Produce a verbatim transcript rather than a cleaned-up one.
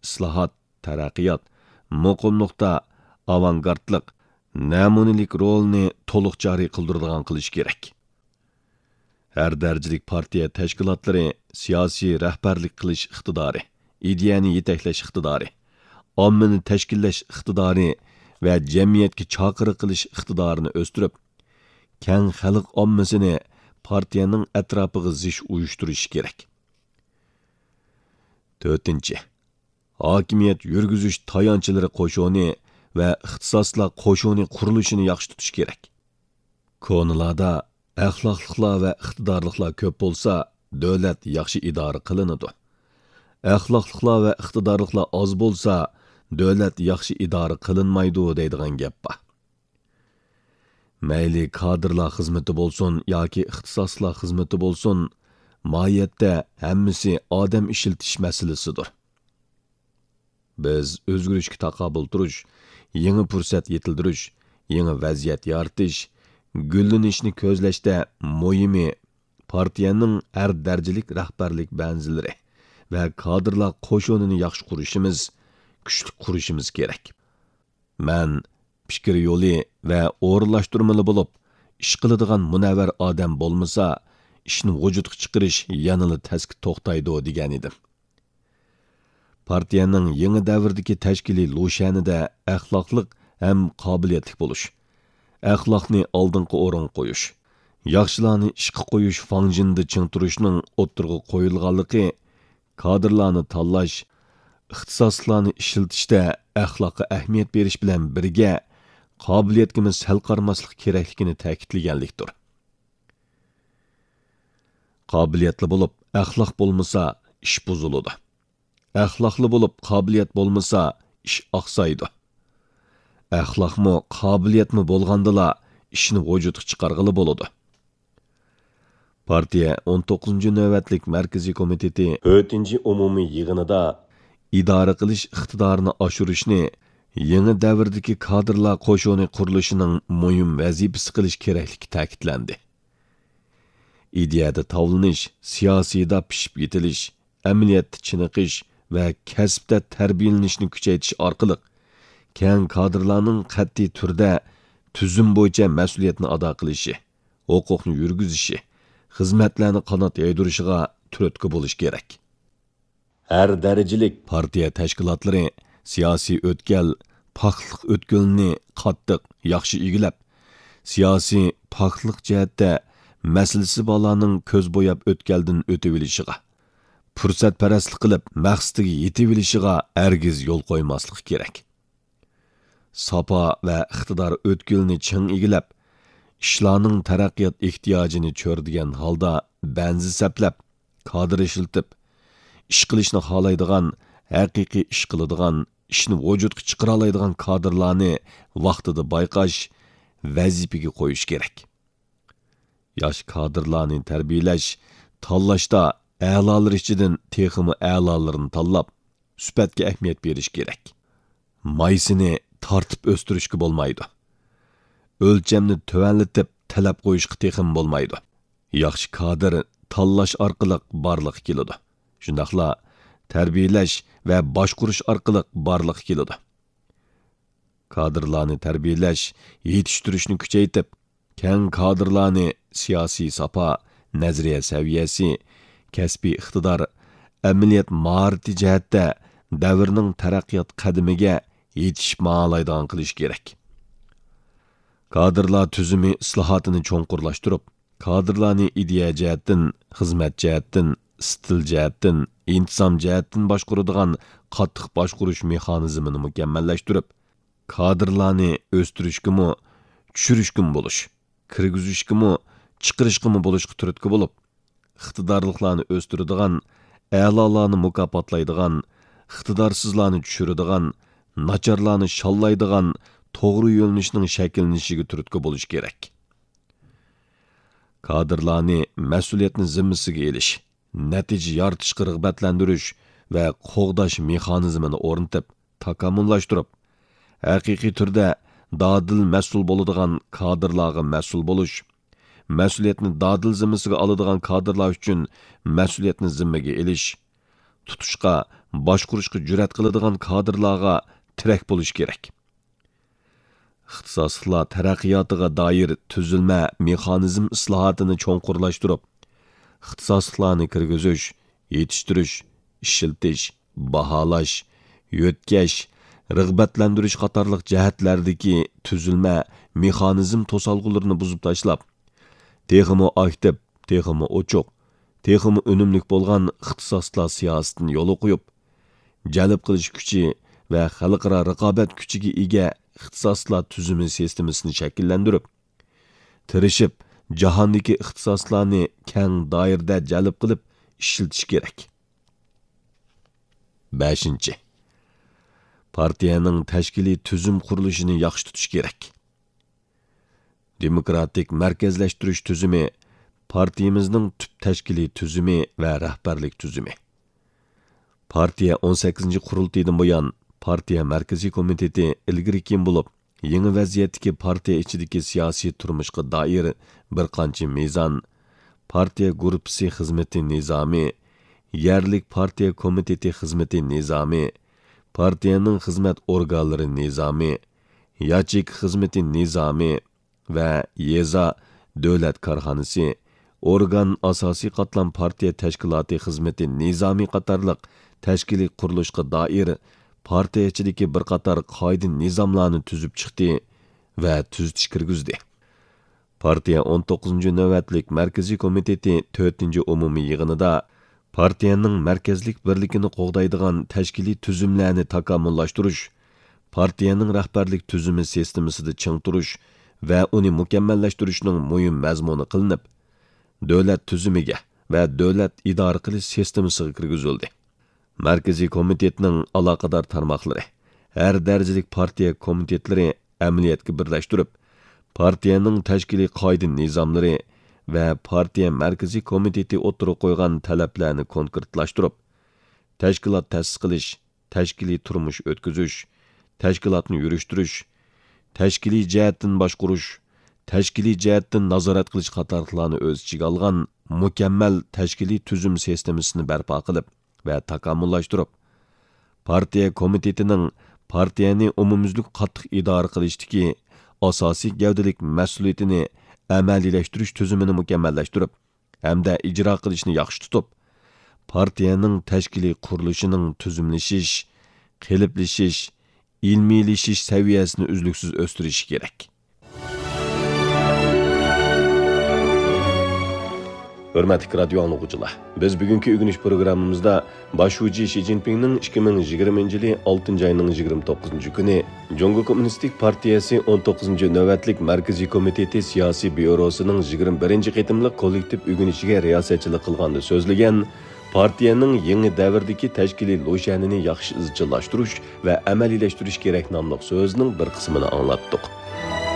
ئىسلاھات، تەرەققىيات، مۇقىملىقتا ئاۋانگارتلىق، نەمۇنىلىك رولىنى تولۇق جارى قىلدۇرىدىغان قىلىش كېرەك. ھەر دەرىجىلىك پارتىيە تەشكىلاتلىرى سىياسىي رەھبەرلىك قىلىش ئىقتىدارى، ئىدىيەنى يېتەكلەش ئىقتىدارى، ئاممىنى تەشكىللەش ئىقتىدارى ۋە جەمئىيەتكە چاقىرىق قىلىش ئىقتىدارىنى ئۆستۈرۈپ، كەڭ خەلق ئاممىسىنى پارتىيەنىڭ ئەتراپىغا زىچ ئۇيۇشتۇرۇشى كېرەك. تۆتىنچى، ھاكىمىيەت يۈرگۈزۈش تايانچلىرى قوشۇنى ۋە ئىختىساسلار قوشۇنى قۇرۇلۇشىنى ياخشى تۇتۇش كېرەك. كونىلاردا ئەخلاقلىقلار ۋە ئىقتىدارلىقلار كۆپ بولسا، دۆلەت ياخشى ئىدارە قىلىنىدۇ. ئەخلاقلىقلار ۋە ئىقتىدارلىقلار ئاز بولسا، دۆلەت ياخشى ئىدارە قىلىنمايدۇ دەيدىغان گەپ بار. مەيلى كادىرلار خىزمىتى بولسۇن ياكى ئىختىساسلار خىزمىتى بولسۇن، ماھىيەتتە ھەممىسى ئادەم ئىشلىتىش مەسىلىسىدۇر. بىز ئۆزگىرىشكە تاقابىل تۇرۇش، يېڭى پۇرسەت يېتىلدۈرۈش، يېڭى ۋەزىيەت يارىتىش، گۈللىنىشنى كۆزلەشتە مۇھىمى پارتىيەنىڭ ھەر دەرىجىلىك رەھبەرلىك بەنزىلىرى ۋە كادىرلار قوشۇنىنى ياخشى قۇرۇشىمىز، كۈچلۈك قۇرۇشىمىز كېرەك. مەن پىكىر يولى ۋە ئورۇنلاشتۇرمىلى بولۇپ ئىش قىلىدىغان مۇنەۋۋەر ئادەم بولمىسا، ئىشنى ۋۇجۇدقا چىقىرىش يەنىلا تەسكە توختايدۇ، دېگەنىدىم. پارتىيەنىڭ يېڭى دەۋردىكى تەشكىلىي لۇشيەنىدە ئەخلاقلىق ھەم قابىلىيەتلىك بولۇش، ئەخلاقنى ئالدىنقى ئورۇنغا قويۇش، ياخشىلارنى ئىشقا قويۇش فاڭجېنىدا چىڭ تۇرۇشنىڭ ئوتتۇرىغا قويۇلغانلىقى، كادىرلارنى تاللاش، ئىختىساسلىقلارنى ئىشلىتىشتە ئەخلاققا ئەھمىيەت بېرىش بىلەن بىرگە، قابىلىيەتكىمۇ سەل قارىماسلىق كېرەكلىكىنى تەكىتلىگەنلىكتۇر. قابىلىيەتلى بولۇپ، ئەخلاق بولمىسا، ئىش بۇزۇلىدۇ. ئەخلاقلى بولۇپ، قابىلىيەت بولمىسا، ئىش ئاقسايدۇ. ئەخلاقمۇ، قابىلىيەتمۇ بولغاندىلا، ئىشنى ۋۇجۇدقا چىقارغىلى بولىدۇ. پارتىيە ئون توققۇزىنچى نۆۋەتلىك مەركىزىي كومىتېتى تۆتىنچى ئومۇمىي يىغىنىدا ئىدارە قىلىش ئىقتىدارىنى ئاشۇرۇشنى يېڭى دەۋردىكى كادىرلار قوشۇنى قۇرۇلۇشىنىڭ مۇھىم ۋەزىپىسى قىلىش كېرەكلىكى تەكىتلەندى. ئىدىيەدە تاۋلىنىش، سىياسىيدا پىشىپ يېتىلىش، ئەمەلىيەتتە چېنىقىش ۋە كەسىپتە تەربىيەلىنىشنى كۈچەيتىش ئارقىلىق، كەڭ كادىرلارنىڭ قەتئىي تۈردە تۈزۈم بويىچە مەسئۇلىيەتنى ئادا قىلىشى، ھوقۇقنى يۈرگۈزۈشى، خىزمەتلەرنى قانات يايدۇرۇشىغا تۈرتكە بولۇش كېرەك. ھەر دەرىجىلىك پارتىيە تەشكىلاتلىرى سىياسىي ئۆتكەل، پاكلىق ئۆتكىلىنى قاتتىق، ياخشى ئىگىلەپ، سىياسىي پاكلىق جەھەتتە مەسىلىسى بارلارنىڭ كۆز بوياپ ئۆتكەلدىن ئۆتۈۋېلىشىغا، پۇرسەتپەرەسلىك قىلىپ مەقسىتىگە يېتىۋېلىشىغا ھەرگىز يول قويماسلىقى كېرەك. ساپا ۋە ئىقتىدار ئۆتكىلىنى چىڭ ئىگىلەپ، ئىشلارنىڭ تەرەققىيات ئېھتىياجىنى چۆرىدىگەن ھالدا بەنزە سەپلەپ، كادىر ئىشلىتىپ، ئىش قىلىشنى خالايدىغان، ھەقىقىي ئىش قىلىدىغان، ئىشنى ۋۇجۇدقا چىقىرالايدىغان كادىرلارنى ۋاقتىدا بايقاش، ۋەزىپىگە قويۇش كېرەك. ياش كادىرلارنى تەربىيەلەش، تاللاشتا ئەلالىرى ئىچىدىن تېخىمۇ ئەلالىرىنى تاللاپ، سۈپەتكە ئەھمىيەت بېرىش كېرەك. مايسىنى تارتىپ ئۆستۈرۈشكە بولمايدۇ. ئۆلچەمنى تۆۋەنلىتىپ تەلەپ قويۇشقا تېخىمۇ بولمايدۇ. ياخشى كادىر تاللاش ئارقىلىق بارلىققا كېلىدۇ. شۇنداقلا تەربىيەلەش ۋە باشقۇرۇش ئارقىلىق بارلىققا كېلىدۇ. كادىرلارنى تەربىيەلەش، يېتىشتۈرۈشنى كۈچەيتىپ، كەڭ كادىرلارنى سىياسىي ساپا، نەزەرىيە سەۋىيەسى، كەسپىي ئىقتىدار، ئەمەلىيەت ماھارىتى جەھەتتە دەۋرنىڭ تەرەققىيات قەدىمىگە يېتىشىپ ماڭالايدىغان قىلىش كېرەك. كادىرلار تۈزۈمى ئىسلاھاتىنى چوڭقۇرلاشتۇرۇپ، كادىرلارنى ئىدىيە جەھەتتىن، خىزمەت جەھەتتىن، ئىستىل جەھەتتىن، ئىنتىزام جەھەتتىن باشقۇرىدىغان قاتتىق باشقۇرۇش مېخانىزمىنى مۇكەممەللەشتۈرۈپ، كادىرلارنى ئۆستۈرۈشكىمۇ، چۈشۈرۈشكىمۇ بولۇش، كىرگۈزۈشكىمۇ، چىقىرىشقىمۇ بولۇشقا تۈرتكە بولۇپ، ئىقتىدارلىقلارنى ئۆستۈرىدىغان، ئەلالارنى مۇكاپاتلايدىغان، ئىقتىدارسىزلارنى چۈشۈرىدىغان، ناچارلارنى شاللايدىغان توغرا يۆنىلىشنىڭ شەكىللىنىشىگە تۈرتكە بولۇش كېرەك. كادىرلارنى مەسئۇلىيەتنى زىممىسىگە ئېلىش، نەتىجە يارىتىشقا رىغبەتلەندۈرۈش ۋە قوغداش مېخانىزمىنى ئورنىتىپ، تاكامۇللاشتۇرۇپ، ھەقىقىي تۈردە دادىل مەسئۇل بولىدىغان كادىرلارغا مەسئۇل بولۇش، مەسئۇلىيەتنى دادىل زىممىسىگە ئالىدىغان كادىرلار ئۈچۈن مەسئۇلىيەتنى زىممىگە ئېلىش، تۇتۇشقا، باشقۇرۇشقا جۈرئەت قىلىدىغان كادىرلارغا تىرەك بولۇشى كېرەك. ئىختىساسلىقلار تەرەققىياتىغا دائىر تۈزۈلمە، مېخانىزم ئىسلاھاتىنى چوڭقۇرلاشتۇرۇپ، ئىختىساسلىقلارنى كىرگۈزۈش، يېتىشتۈرۈش، ئىشلىتىش، باھالاش، يۆتكەش، رىغبەتلەندۈرۈش قاتارلىق جەھەتلەردىكى تۈزۈلمە، مېخانىزم توسالغۇلىرىنى بۇزۇپ تاشلاپ، تېخىمۇ ئاكتىپ، تېخىمۇ ئوچۇق، تېخىمۇ ئۈنۈملۈك بولغان ئىختىساسلار سىياسىتىنى يولغا قويۇپ، جەلپ قىلىش كۈچى ۋە خەلقئارا رىقابەت كۈچىگە ئىگە ئىختىساسلار تۈزۈمى سىستېمىسىنى شەكىللەندۈرۈپ، تىرىشىپ، جاھاندىكى ئىختىساسلارنى كەڭ دائىرىدە جەلپ قىلىپ ئىشلىتىش كېرەك. بەشىنچى، پارتىيەنىڭ تەشكىلىي تۈزۈم قۇرۇلۇشىنى ياخشى تۇتۇش كېرەك. دېموكراتىك مەركەزلەشتۈرۈش تۈزۈمى پارتىيىمىزنىڭ تۈپ تەشكىلىي تۈزۈمى ۋە رەھبەرلىك تۈزۈمى. پارتىيە ئون سەككىزىنچى قۇرۇلتىيىدىن بۇيان، پارتىيە مەركىزىي كومىتېتى ئىلگىرى كېيىن بولۇپ، يېڭى ۋەزىيەتتىكى پارتىيە ئىچىدىكى سىياسىي تۇرمۇشقا دائىر بىر قانچە مىزان، پارتىيە گۇرۇپپىسى خىزمىتى نىزامى، يەرلىك پارتىيە كومىتېتى خىزمىتى نىزامى، پارتىيەنىڭ خىزمەت ئورگانلىرى نىزامى، ياچېيكا خىزمىتى نىزامى، ۋە يېزا، دۆلەت كارخانىسى، ئورگان، ئاساسىي قاتلام پارتىيە تەشكىلاتى خىزمىتى نىزامى قاتارلىق تەشكىلىي قۇرۇلۇشقا دائىر پارتىيە ئىچىدىكى بىر قاتار قائىدە نىزاملارنى تۈزۈپ چىقتى ۋە تۈزىتىش كىرگۈزدى. پارتىيە ئون توققۇزىنچى نۆۋەتلىك مەركىزىي كومىتېتى تۆتىنچى ئومۇمىي يىغىنىدا پارتىيەنىڭ مەركەزلىك بىرلىكىنى قوغدايدىغان تەشكىلىي تۈزۈملەرنى تاكامۇللاشتۇرۇش، پارتىيەنىڭ رەھبەرلىك تۈزۈمى سىستېمىسىدا چىڭ تۇرۇش ۋە ئۇنى مۇكەممەللەشتۈرۈشنىڭ مۇھىم مەزمۇنى قىلىنىپ، دۆلەت تۈزۈمىگە ۋە دۆلەت ئىدارە قىلىش سىستېمىسىغا كىرگۈزۈلدى. مەركىزىي كومىتېتنىڭ ئالاقىدار تارماقلىرى، ھەر دەرىجىلىك پارتىيە كومىتېتلىرى ئەمەلىيەتكە بىرلەشتۈرۈپ، پارتىيەنىڭ تەشكىلىي قائىدە نىزاملىرى ۋە پارتىيە مەركىزىي كومىتېتى ئوتتۇرىغا قويغان تەلەپلەرنى كونكرېتلاشتۇرۇپ، تەشكىلات تەسىس قىلىش، تەشكىلىي تۇرمۇش ئۆتكۈزۈش، تەشكىلاتنى يۈرۈشتۈرۈش، تەشكىلىي جەھەتتىن باشقۇرۇش، تەشكىلىي جەھەتتىن نازارەت قىلىش قاتارلىقلارنى ئۆز ئىچىگە ئالغان مۇكەممەل تەشكىلىي تۈزۈم سىستېمىسىنى بەرپا قىلىپ ۋە تاكامۇللاشتۇرۇپ، پارتىيە كومىتېتىنىڭ پارتىيەنى ئومۇميۈزلۈك قاتتىق ئىدارە قىلىشتىكى ئاساسىي گەۋدىلىك مەسئۇلىيىتىنى ئەمەلىيلەشتۈرۈش تۈزۈمىنى مۇكەممەللەشتۈرۈپ، ھەمدە ئىجرا قىلىشنى ياخشى تۇتۇپ، پارتىيەنىڭ تەشكىلىي قۇرۇلۇشىنىڭ تۈزۈملىشىش، قېلىپلىشىش، ئىلمىيلىشىش سەۋىيەسىنى ئۈزلۈكسىز ئۆستۈرۈشى كېرەك. ھۆرمەتلىك رادىيو ئاڭلىغۇچىلار، بىز بۈگۈنكى ئۆگىنىش پروگراممىمىزدا باش شۇجى شى جىنپىڭنىڭ ئىككى مىڭ يىگىرمىنچى يىلى ئالتىنچى ئاينىڭ يىگىرمە توققۇزىنچى كۈنى جۇڭگو كوممۇنىستىك پارتىيەسى ئون توققۇزىنچى نۆۋەتلىك مەركىزىي كومىتېتى سىياسىي بيۇروسىنىڭ يىگىرمە بىرىنچى قېتىملىق كوللېكتىپ ئۆگىنىشىگە رىياسەتچىلىك قىلغاندا سۆزلىگەن، پارتىيەنىڭ يېڭى دەۋردىكى تەشكىلىي لۇشيەنىنى ياخشى ئىزچىللاشتۇرۇش ۋە ئەمەلىيلەشتۈرۈش كېرەك ناملىق سۆزىنىڭ بىر قىسمىنى ئاڭلاتتۇق.